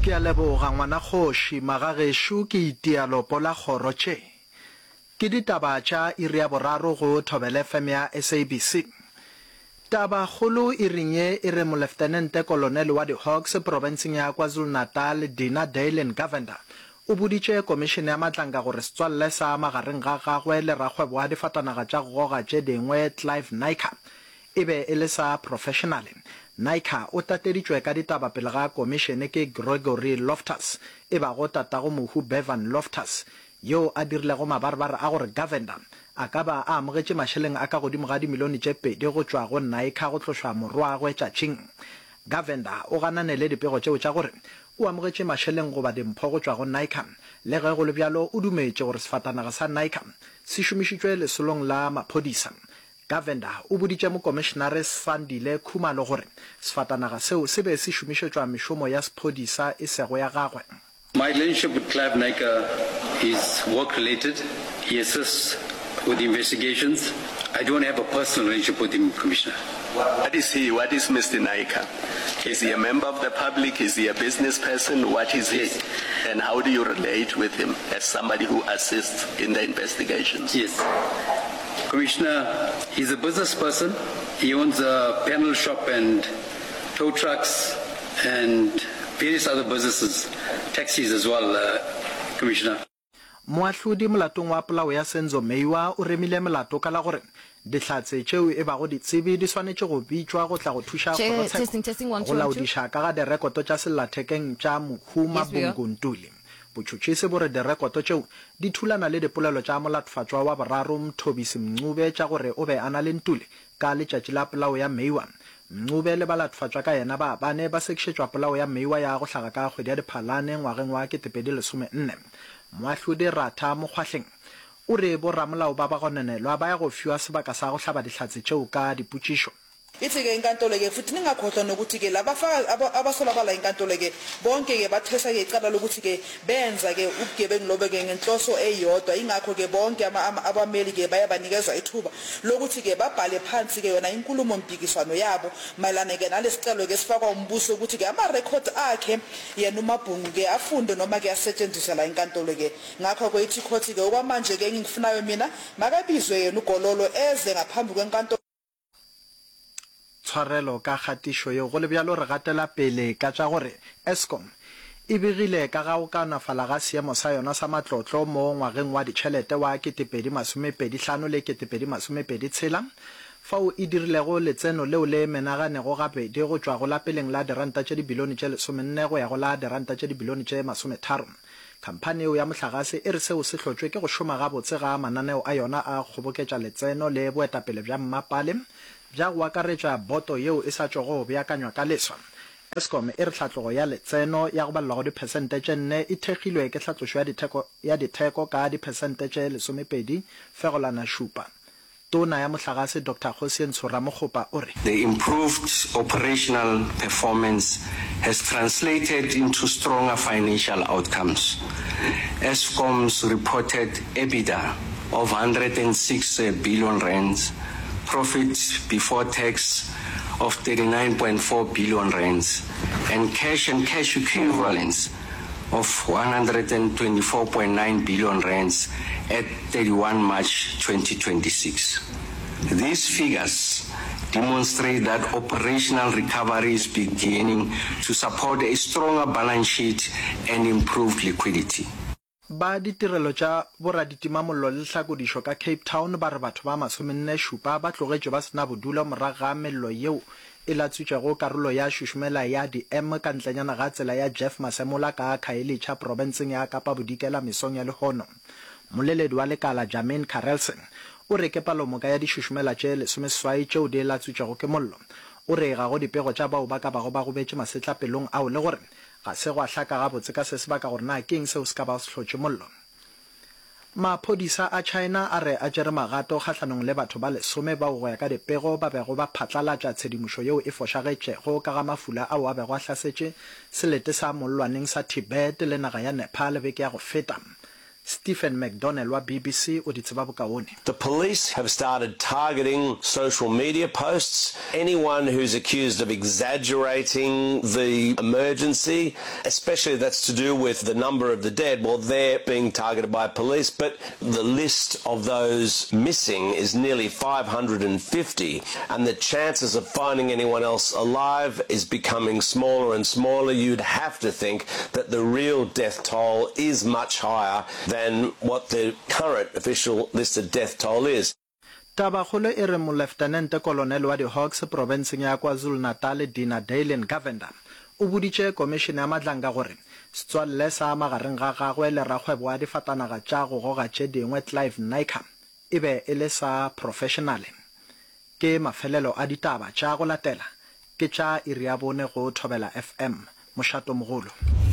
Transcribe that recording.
Ke a leboga ngwana kgoši, magagešo ke itia lopo la kgoro tše. Ke ditaba tša iri ya boraro go Thobela FM ya SABC. Taba kgolo iring ye e re Moleftenente Kolonele wa di-Hawks profenseng ya KwaZulu-Natal Dina Daylin Govender o boditše komišene ya Matlanka gore setswalle sa magareng ga gagwe le rakgwebo wa difatanaga tša go goga tše dingwe Clive Naicker e be e le sa professionale. Naicker o tateditšwe ka ditaba pele ga komišene ke Gregory Loftus, e bago tatago mohu Bevan Loftus, yoo a dirilego mabarebare a gore Govender a ka ba a amogetše mašeleng a ka godimo ga dimilione tše pedi go tšwa go Naicker go tlošwa morwagwe tšatšing. Govender o ganane le dipego tšeo tša gore o amogetše mašeleng goba dimpho go tšwa go Naicker. Le ge go le bjalo, o dumetše gore sefatanaga sa Naicker se šomišitšwe lesolong la maphodisa. Govender o boditše Mokomišenare Sandile Khumalo gore sefatanaga seo se be se šomišetšwa mešomo ya sephodisa e sego ya gagwe. My relationship with Clive Naicker is work related, he assists with the investigations, I don't have a personal relationship with him, Commissioner. What is he? What is Mister Naicker? Is he a member of the public? Is he a business person? What is he? Yes. And how do you relate with him as somebody who assists in the investigations? Yes. Commissioner, he's a business person. He owns a panel shop and tow trucks and various other businesses, taxis as well, uh, Commissioner. Moahlodi molatong wa polao ya Senzo Meyiwa o remile molato ka la gore dihlatse tšeo e bago ditsebi di swanetše go bitšwa go tla go thuša Che, kgorotsheko testing, testing, one, go two, one, two. laodiša ka ga direkoto tša sellathekeng tša mohu Yes, we are. Mabungu Ntuli. Botšhotšhisi bo re direkoto tšeo di thulana le dipolelo tša molatfatšwa wa boraro Mthobisi Mncube tša gore o be a na le Ntuli ka letšatši la polao ya Meyiwa. Mncube le balatfatšwa ka yena ba bane ba sekišetšwa polao ya Meyiwa ya go hlaga ka kgwedi ya Diphalane ngwageng wa 2014. Moahlodi Ratha Mokgwahleng o re boramolao ba bagononelwa ba ya go fiwa sebaka sa go hlaba dihlatse tšeo ka dipotšišo. Ithi-ke inkantolo-ke, futhi ningakhohlwa nokuthi-ke labafakazi abasolwa bala inkantolo-ke, bonke-ke bathweswa-ke icala lokuthi-ke benza-ke ubugebengu lobo-ke ngenhloso eyodwa, yingakho-ke bonke abameli-ke baye banikezwa ithuba lokuthi-ke babhale phansi-ke yona inkulumo-mpikiswano yabo mayelana-ke nalesicelo-ke esifakwa umbuso ukuthi-ke amarekhodi akhe yena uMabhungu-ke afundwe noma-ke asetshenziswe la enkantolo-ke. Ngakho-ke ithi ikhothi-ke okwamanje-ke engikufunayo mina makabizwe yena uGololo eze ngaphambi kwenkantolo. Tshwarelo ka kgatišo yeo. Go le bjalo, re gatela pele ka tša gore Eskom e begile ka ga go kaonafala ga seemo sa yona sa matlotlo mo ngwageng wa ditšhelete wa 2025 le 2026, fao e dirilego letseno leo le menaganego gabedi go tšwa go la peleng la diranta tše dibilione tše lesomenne go ya go la diranta tše dibilione tše masometharo. Khamphani yeo ya mohlagase e re seo se hlotšwe ke go šoma gabotse ga mananeo a yona a go kgoboketša letseno le boetapele bja mmapale bja go akaretša boto yeo e sa tšwago go beakanywa ka leswa. Eskom e re hlatlogo ya letseno ya go balelwa go diphesente tše nne e thekgilwe ke hlatlošo ya ditheko ya ditheko ka diphesente tše lesomepedi fegolana šupa. Tona ya Mohlagase Doctor Kgosientsho Ramokgopa o re. The improved operational performance has translated into stronger financial outcomes. Eskom's reported EBITDA of 106 billion rands, profit before tax of 39.4 billion rands, and cash and cash equivalents of 124.9 billion rands at 31 March 2026. These figures demonstrate that operational recovery is beginning to support a stronger balance sheet and improved liquidity. Ba ditirelo tša boraditimamollo le hlakodišo ka Cape Town ba re batho ba masomenne šupa ba tlogetšwe ba se na bodulo morago ga mello yeo e latswitšego karolo ya šušumela ya di-M ka ntlenyana ga tsela ya Jeff Masemola ka Khayelitsha profenseng ya Kapa Bodikela mesong ya lehono. Mmoleledi wa lekala Jermaine Carelse o re ke palomoka ya dišušumela tše lesomeseswai tšeo di latswitšwego ke mollo. O re ga go dipego tša bao ba ka bago ba gobetše masetlapelong ao le gore ga se gwa hlaka gabotse ka se sebaka gore na ke eng seo se ka bago se hlotše mollo. Maphodisa a China a re a tšere magato kgahlanong le batho ba lesome bao go ya ka dipego ba bego ba phatlalatša tshedimošo yeo e fošagetšego ka ga mafula ao a bego a hlasetše selete sa mollwaneng sa Tibet le naga ya Nepal beke ya go feta. Stephen McDonnell wa BBC o di tseba bokaone. The police have started targeting social media posts, anyone who's accused of exaggerating the emergency, especially that's to do with the number of the dead, well, they're being targeted by police, but the list of those missing is nearly 550, and the chances of finding anyone else alive is becoming smaller and smaller. You'd have to think that the real death toll is much higher than what the current official listed death toll is. Tabakgolo e re Moleftenente Kolonele wa di-Hawks profenseng ya KwaZulu-Natal Dina Daylin Govender o boditše Komišene ya Madlanga gore setswalle sa magareng ga gagwe le rakgwebo wa difatanaga tša go goga tše dingwe Clive Naicker e be e le sa profešenale. Ke mafelelo a ditaba tša go latela ke tša iri ya bone go Thobela FM, mošatomogolo.